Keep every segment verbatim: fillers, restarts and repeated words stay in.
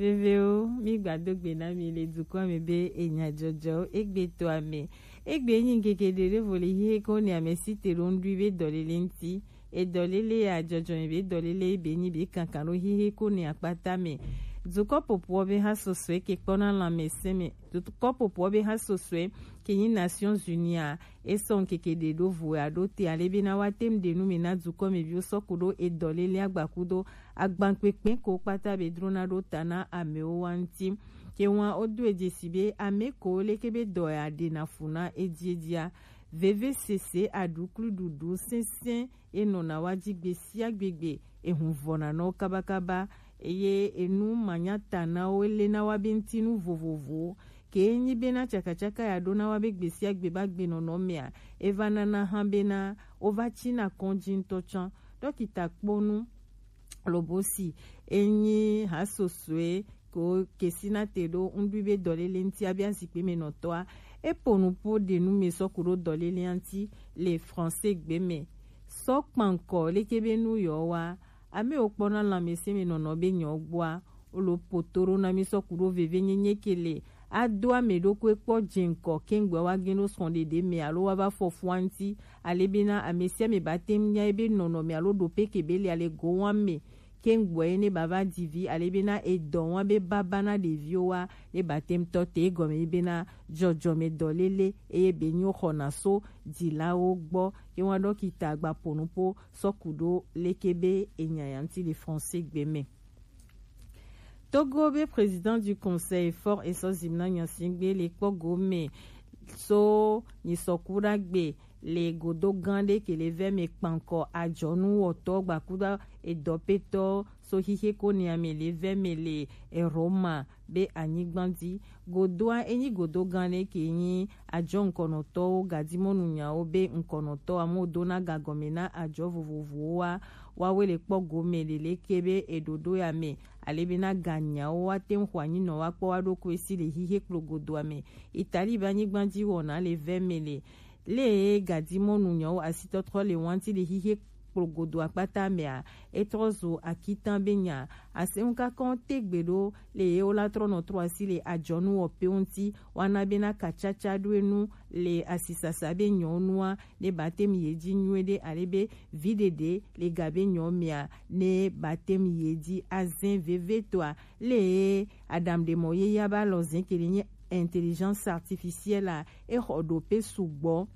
Vevewo, mi gbado gbe na mi le dukɔ me be enya jɔjɔ egbe to ame. Egbe nyi ŋkeke ɖe ɖevo le hihe ko ne ame si te ɖo ŋɖui be dɔlele ŋti. Edɔlele ya jɔjɔ me be dɔlele be nyi be kankan ɖo hihe ko ne akpata me. Dukɔ popo be ha sɔsɔe ke kpɔna lãmesẽ me. Dukɔ popo be ha sɔsɔe ke nyi Nations Unies a, esɔ ŋkeke ɖe ɖo vo ya ɖo te ale be na wa tem ɖe nu me na dukɔ me viwo sɔ ku ɖo edɔlele agbakudo agbankpekpe ko kpata be dro na ɖo ta na amewo wa ŋti. Ke wa o do e jesi be ame ko leke be dɔ ya ɖe na fu na eji eji a. Veve sese aɖuklu ɖuɖu sɛnsɛn e nɔna wa ji gbe sia gbe gbe, ehun vɔna na wo kabakaba, eye enu manya ta na wo ele na wa be ŋtinu vovovowo. Ke nyi be na cakacaka ya ɖo na wa be gbe sia gbe ba gbe nɔnɔ mea, e va nana hã be na wo va ci na kɔnji ŋtɔ tsã. Dɔkita kpɔnu Lobosi, enyi ha sɔsɔe ko kesina te ɖo ŋɖui be dɔlele ŋti abi azikpe me nɔtɔa, e po nu po ɖe nu me sɔ ku ɖo dɔlele ŋti le français gbe me. Sɔ kpankɔ leke be nu yɔ wa, ame wo kpɔna lãmesẽ me nɔnɔ be nyɔ gbɔa, wo lo poto ɖo na mi sɔ ku ɖo veve nyenye ke le ado ame ɖokui kpɔ dze ŋkɔ kengbe wa gen ɖo srɔ̃ɖeɖe me alo wa va fɔ fua ŋti, ale be na ame sia ame ba tem nya ebe nɔnɔ me alo ɖo pe ke be le ale go wa me. Kengbe ne ba va di vi ale be na edɔ wa be baba na ɖeviwo wa ne ba tem tɔ te egɔme be na jɔjɔme dɔlele eye be nyi wo xɔna so dilawo gbɔ. Ye wa dɔkita gba po nu po sɔ ku ɖo leke be enya ya ŋti le français gbe me. Togo be président du conseil fort esɔ zim na nyasingbe le kpɔ gome so nyisɔku ɖagbe le godo gã ɖe ke le vɛ me kpankɔ ajɔnu wɔtɔ gbakuda edɔpetɔ so xixe ko ne ame le vɛ me le Roma be anyigba dzi. Godoa enyi godo gã ɖe ke nyi ajɔ ŋkɔnɔtɔwo gadimɔnu nyawo be ŋkɔnɔtɔ amewo dona gagɔme na ajɔ vovovowo wa wawe le kpɔ gome leleke be eɖoɖo ya me ale be na ganyawo wa te ŋu xɔ anyinɔ wa kpɔ wa ɖokui si le xixe kplo godoa me. Itali be anyigba dzi wɔna le vɛ me le le gadimɔnu nyawo asitɔtrɔ le wanti le xixe kplo godo akpata mea, etrɔ zo akitan be nya. Aseŋu kakɔ te gbe ɖo le ye wo la trɔ nɔ trɔ asi le ajɔnu wɔ pe ŋuti wana be na katsatsa ɖo enu le asisasa be nyɔnua ne ba tem ye dzi nyuie ɖe ale be vi ɖeɖe le ga be nyɔ mea ne ba tem ye dzi azẽ veve toa. Le aɖaŋuɖemɔ ye ya ba lɔ zẽ ke le nye intelligence artificielle a, e xɔ ɖo pe sugbɔ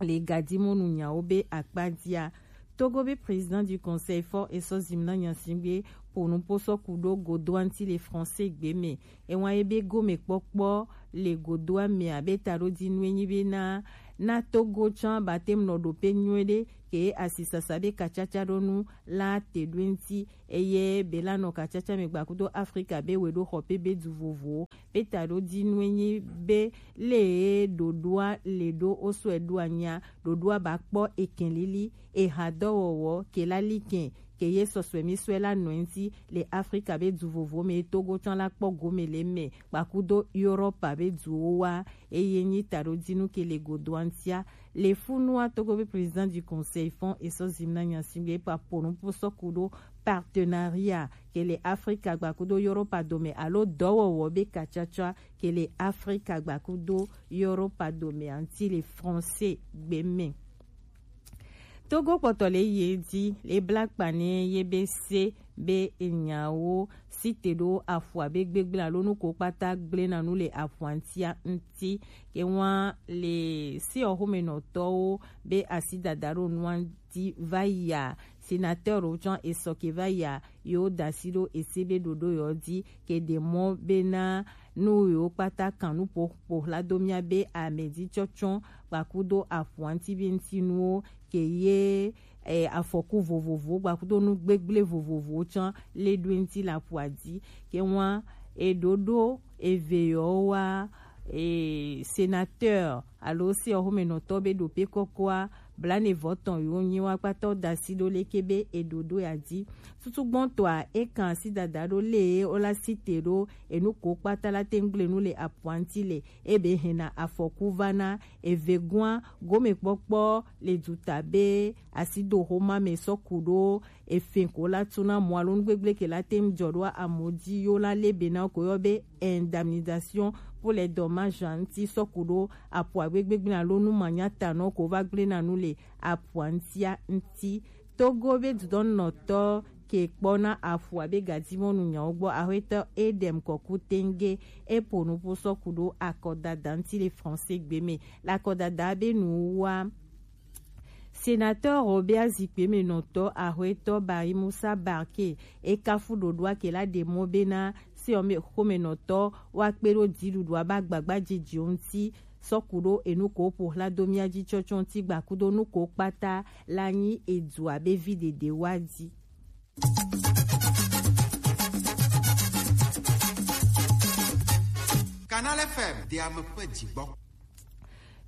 le gadimɔnu nyawo be akpa dzia. Togo be président du conseil fort esɔ zim na nyasingbe po nu po sɔ ku ɖo godo anti le français gbe me. Ewa ye be gome kpɔkpɔ le godoa mea be ta ɖo di nu enyi be na na Togo tsã ba tem nɔ ɖo pe nyuie ɖe ke asisasa be katsatsa ɖo nu la te ɖo ŋti. Eye be la nɔ katsatsa me gbakudo Afrika be we ɖo xɔ pe be du vovowo. Pe ta ɖo di nu enyi be le ɖoɖoa le ɖo o sɔe ɖo anya ɖoɖoa ba kpɔ ekɛn lili eha dɔwɔwɔ ke la li kɛn ke ye sɔsɔe mi sɔe la nɔ ŋti le Afrika be du vovo me Togo tsã la kpɔ gome le me kpakudo Europa be duwo wa. Eye nyi ta ɖo di nu ke le godo antia le funua Togo be président du conseil fond esɔ zim na nyasingbe pa po nu po sɔ ku ɖo partenariat ke le Afrika gbakudo Europa dome alo dɔwɔwɔ be katsatsa ke le Afrika gbakudo Europa dome anti le français gbe me. Togo kpɔtɔ le ye di le bla kpa ne ye be se be enyawo si te ɖo afua be gbegblẽ alo nu ko kpata gblẽ na nu le afua ŋtia ŋti. Ke wa le si ɔxomenɔtɔwo be asi dada ɖo nua di va ya. Sénateur wo tsã esɔ ke va ya yewo da asi ɖo ese be ɖoɖo yewo di ke ɖe mɔ be na nu yewo kpata kan nu ƒo ƒo xla do mía be amedzitsɔtsɔ kpakudo aƒua ŋuti be ŋutinuwo ke ye eh, afɔku vovovowo kpakudo nu gbegblẽ vovovowo tsã le ɖo ŋuti le aƒua dzi. Ke wa eɖoɖo eve yewo wa eh, sénateur alo sexɔmenɔtɔ be ɖope kɔkɔa blanevɔtɔn yewo nyi wa kpata wo da asi ɖo leke be eɖoɖo ya dzi. Tutugbɔntɔa ekan asi dada ɖo le wo la si te ɖo enu ko kpata la te ŋgble nu le aƒua ŋuti le ebe hena afɔku va na eve gɔa gomekpɔkpɔ le duta be asidoxoma me sɔ ku ɖo efin ko la tuna mɔ alo nugbegble ke la tem jɔ ɖo amo ji yo la le be na ko yɔ be indemnisation pour les dommages ŋuti sɔku ɖo apo agbegbegble alo nu manya ta nɔ ko va gble na nu le apoa ŋutia ŋuti. Togo be dudɔnɔtɔ ke kpɔ na aƒu abe gadimɔnu nyawo gbɔ, aƒetɔ Edem Kɔku Tenge eƒo nuƒo sɔku ɖo akɔdada ŋuti le Français gbe me. Le akɔdada be nu wa, Sénateur Robert Zikpemenɔtɔ aƒetɔ Bari Musa Barke ekafu ɖoɖoa ke la ɖe mɔ bena seɔme xomenɔtɔ wa kpe ɖo dziɖuɖua ba gbagba jejiwo ŋuti sɔku ɖo enu ko ƒo hla do mía ji tsɔtsɔ ŋuti gbakudo nu ko kpata la nyi edua be vi ɖeɖe wa ji. Canal F M de ame ƒe dzigbɔ.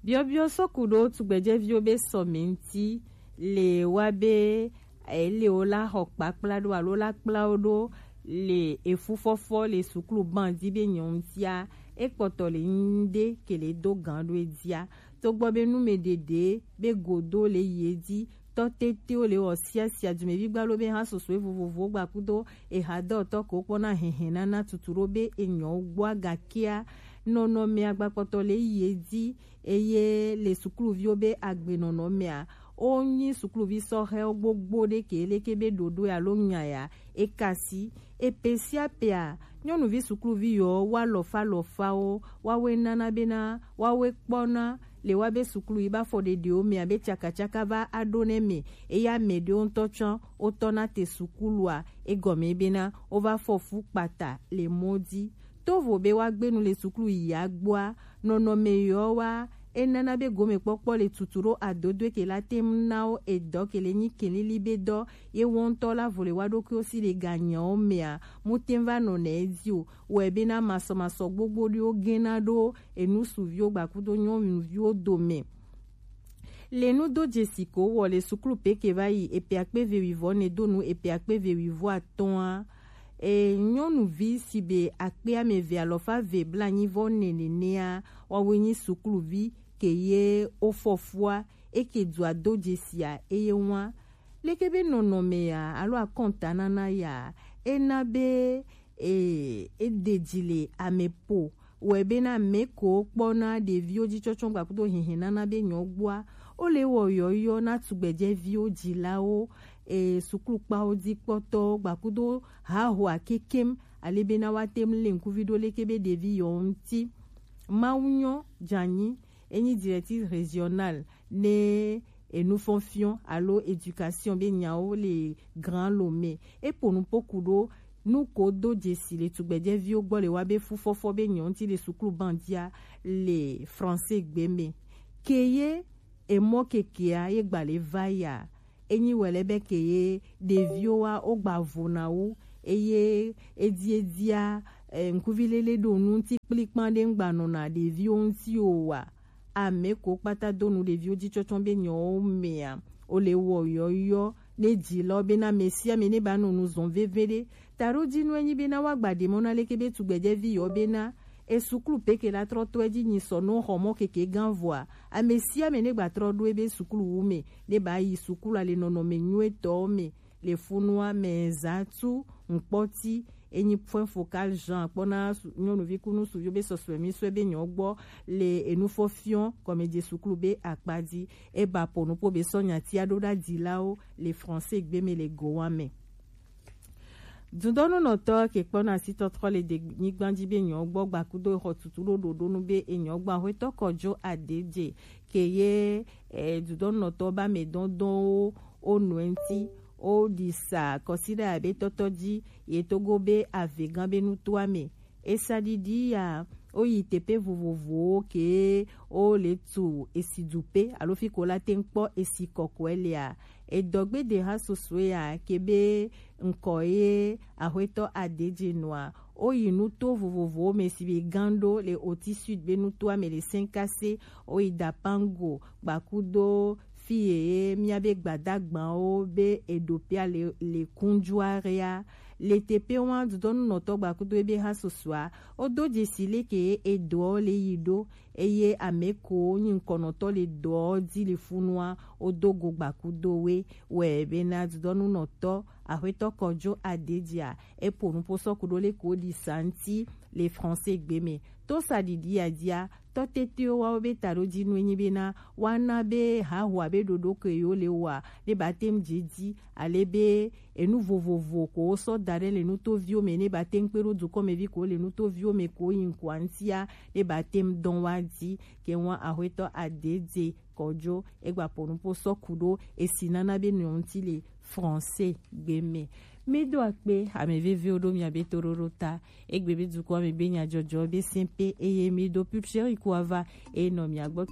Biɔbiɔ sɔku ɖo tugbedzeviwo be sɔme ŋuti le wa be ele wo la xɔ kpakpla ɖo alo la kpla wo ɖo le efufɔfɔ le suklu ban di be nyɔ ŋutia ekpɔtɔ le ŋde ke le do gan ɖo edia. Togbɔ be numeɖeɖe be godo le yi edi, tɔ tetewo le wɔ siasia dumevi gbalo be hã sosoe vovovowo gbakudo eha dɔtɔ ko kpɔna hɛhɛ nana tutu ɖo be enyɔ gbɔa gakea nɔnɔme agbakpɔtɔ le yi edi eye le sukluviwo be agbenɔnɔ mea wonyi sukluvi sɔhɛwo gbogbo ɖe ke leke be ɖoɖoe alo nya ya ekasi epe sia pea nyɔnuvi sukluvi yɔ wa lɔfa lɔfawo wawoe nana bena wawoe kpɔna le wa be suklu yi ba fɔ ɖeɖewo mea be tsakatsaka va aɖo ne me eya me ɖewo ŋutɔ tsɔ wotɔ na te sukulua egɔme bena wova fɔ fu kpata le mɔ di. Tovo be woagbe nu le suklu yi agbɔa nɔnɔme yɔ wa enana be gomekpɔkpɔ le tutu ɖo adodoe ke la tem na wo edɔ ke le nyi kelili be dɔ ye wo ŋutɔ la vo le wa ɖokuiwo si le ganyawo mea mu tem va nɔ ne edi o. Wɔe bena masɔmasɔ gbogbo ɖewo gena ɖo enu suviwo gbakudo nyɔnuviwo dome. Le nudo dzesi ko wɔ le suklu pe ke va yi epe akpe ve wivɔ ne do nu epe akpe ve wivɔ atɔa. E nyɔnuvi si be akpe ame ve alɔfa ve blanyi vɔ ne nenea wawoe nyi sukluvi ke ye wofɔfua eke dua do dzesia eye wa leke be nɔnɔme ya alo akɔntanana ya ena be e edeji le ame po wɔe bena ame ko kpɔna ɖeviwo ji tsɔtsɔ gbakudo hihi nana be nyɔgbɔa wole wɔ yɔyɔ na tugbedzeviwo dzilawo e suklukpawo dzi kpɔtɔwo gbakudo hahoa kekem ale bena woate ŋu lé ŋkuvi ɖo leke be ɖevi yewo ŋuti. Mawu nyɔ dzanyi enyi directrice régionale ne enufɔnfiɔ alo éducation be nyawo le Grand Lomé. Eƒo nuƒo ku ɖo nu ko do dzesi le tugbedzeviwo gbɔ le wa be fufɔfɔ be nyɔ ŋuti le suklu bandia le français gbe me. Ke ye emɔ kekea ye gba le va ya. Enyi wɛlɛ be ke ye ɖeviwo wa wo gba vo na wo eye edi edia eh, ŋkuvi lele ɖo nu ŋuti kplikpan ɖe ŋgba nɔna ɖeviwo ŋuti o wa. Ame ko kpata do nu ɖeviwo ji tsɔtsɔ be nyɔwo mea wole wɔ yɔyɔ ne dzilawo bena ame sia ame ne ba nɔ nu zɔn veve ɖe. Taɖo dzi nu enyi bena woagba ɖe mɔ na leke be tugbedzevi yɔ bena esuklu peke la trɔ tɔ edzi nyi sɔ no xɔ mɔ keke gan vɔa ame sia ame ne gba trɔ ɖo ebe suklu wu me ne ba yi suklu ale nɔnɔme nyuetɔwo me le funua me zã tu ŋkpɔti enyi point focal Jean kpɔna nyɔnuvi kunu suviwo be sɔsɔe mi sɔe be nyɔ gbɔ le enufɔfiɔ kɔmedze suklu be akpa dzi eba po nupo be sɔ nyatia ɖo ɖa dzilawo le français gbe me le gowa me. Dudɔnunɔtɔ ke kpɔna sitɔtrɔ le denyigba dzi be nyɔ gbɔ gbakudo xɔ tutu ɖo ɖoɖonu be enyɔ gbɔ ahwetɔ kɔdzo adedze ke ye e, dudɔnunɔtɔ ba me dɔndɔnwo wo nɔe ŋuti wo ɖi sa kɔsiɖa abe tɔtɔ dzi ye togo be ave gã be nutoa me. Esaɖiɖi ya wo yi teƒe vovovowo ke wo le tu esi du pe alo fi ko la te ŋu kpɔ esi kɔkɔe lea. Edɔgbe de ha sosoe ya ke be ŋkɔ ye ahwetɔ adedze nɔa wo yi nuto vovovowo me si be gan ɖo le oti sud be nutoa me le senkase wo yi dapango gbakudo fi ye mía be gbadagbawo be eɖopia le le kunjuarea Le T P wa dudɔnu nɔtɔ gbakudo ebe ha susua, o do jesi leke e do le yi do, eye ame ko nyi nkɔnɔtɔ le dɔ di le funua, o do go gbakudo we. Wɛ be na dudɔnu nɔtɔ, Axwetɔ Kɔjo Adejia, e po nupo sɔku do le ko di santi le français gbe me. To sa didi adia, tɔ tete wa wo be ta do di nu enyi be na, wa na be ha hua be dodo ke yo le wa, ne ba tem je di, ale be enu vovovo ko wo sɔ da ɖe le nutoviwo me, ne ba tem kpe ɖo dukɔmevi ko le nutoviwo me ko yi ŋkua ŋutia, ne ba tem dɔn wa di, ke wa Axwetɔ Adedze Kɔjo, egba po nupo sɔ ku ɖo esi nana be nɔ ŋuti le français gbe me. Mi do akpe, ame veviwo ɖo mia be toɖoɖo ta. Egbe be dukɔ me be nyajɔjɔ be sɛn pe, eye mi do pupseri ku ava, e nɔ mia gbɔ.